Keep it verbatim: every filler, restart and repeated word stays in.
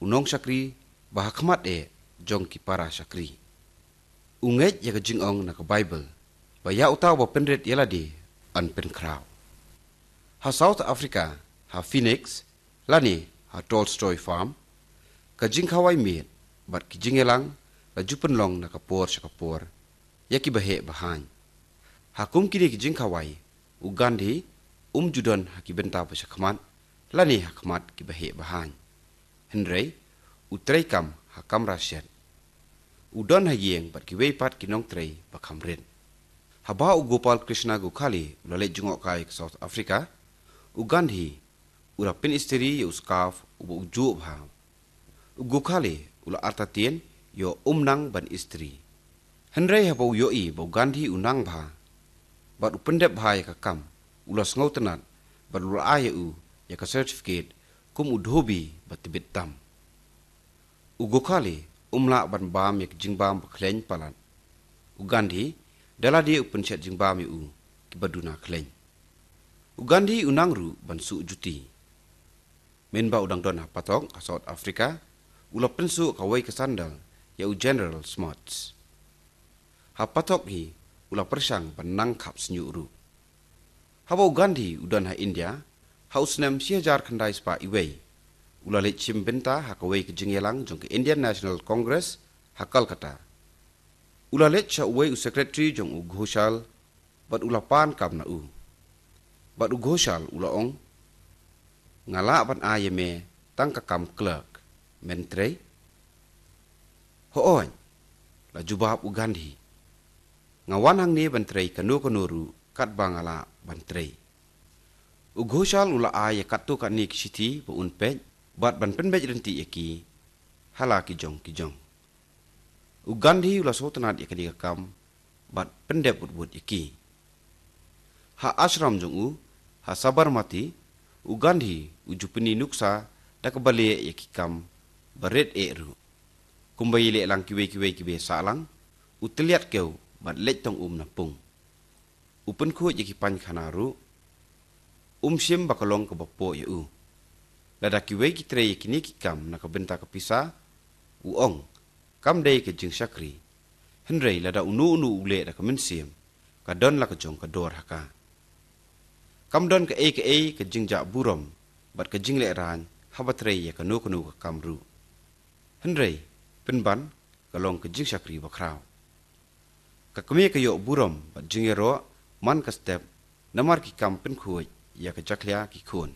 u nongshakri ba ha khmat eh jong ki para shakri. U ngeit ïa ka jingong na ka Baibl ba ïa uta uba pynrit ïa lade yn pynkhraw. Ha South Africa, ha Phoenix lane ha Tolstoy Farm, ka jingkhawai miet bad ki jingïalang la ju pynlong na ka por sha ka por ïa ki baheh bahaiñ. Ha kum kine ki jingkhawai, u Gandhi um ju don ha ki bynta ba sha khmat lane ha khmat ki baheh bahaiñ. Hynrei u trei kam ha kamra shet. U don ha ïing bad kiwei pat ki nongtrei ba kham rit. Haba u Gopal Krishna Gokhale u la leit jngoh kai ka South Africa, u Gandhi u la pynistri ïa u scarf uba u juh bha. U Gokhale u la artatien ïoh um nang ban istri. Hynrei haba u ïohi ba u Gandhi u nang bha bad u pyndep bha ïa ka kam, u la sngewtynnat bad u la ai ïa u ïa ka certificate kum u dhobi ba tbit tam. U Gokhale um lah ban bam ïa ka jingbam ba khleiñ palat. U Gandhi da lade u pynshet jingbam ïa u kiba duna khleiñ. U Gandhi u nang ruh ban suh juti. Mynba u dang don ha Patok ha South Africa, u la pynsuh kawei ka sandal ïa u General Smuts. Ha Patok hi u la pyrshang ban nang khap sniuh ruh. Haba u Gandhi u don ha India ha u snem shi hajar khyndai spah iwei, u la leit shim bynta ha kawei ka jingïalang jong ka Indian National Congress ha Kolkata. U la leit sha uwei u secretary jong u Ghoshal bad u la pan kam na u. Bad u Ghoshal u la ong, "Nga lah ban ai ïa me tang ka kam clerk, men trei?" "Hooid," la jubab u Gandhi. "Nga wan hangne ban trei kano kano ruh katba nga lah ban trei." U Ghoshal u la ai ïa katto katne ki shithi ba un peit bad ban pynbeit ryntih ïa ki ha la ki jong ki jong. U Gandhi u la sngewtynnat ïa kane ka kam bad pyndep wut wut ïa ki. Ha ashram jong u ha Sabarmati, u Gandhi u ju pyni nuksa da kaba leh ïa ki kam ba rit eh ruh. Kumba ïaleh lang kiwei kiwei kiba sah lang, u tylliat kew bad leit tong um na pung. U pynkhuid ïa ki painkhana ruh. Um shim ba ka long kaba poh ïa u. Lada kiwei ki trei ïa kine ki kam na ka bynta ka pisa, u ong, kam dei ka jingshakri. Hynrei lada uno uno u leh da ka mynsiem, ka don la ka jong ka dor ha ka. Kam don kaei kaei ka jingjah burom bad ka jinglehrain haba trei ïa kano kano ka kam ruh. Hynrei pynban ka long ka jingshakri bakhraw. Ka kmie ka ïoh burom bad jingïaroh man ka step namar ki kam pynkhuid ïa ka jakhlia ki khun.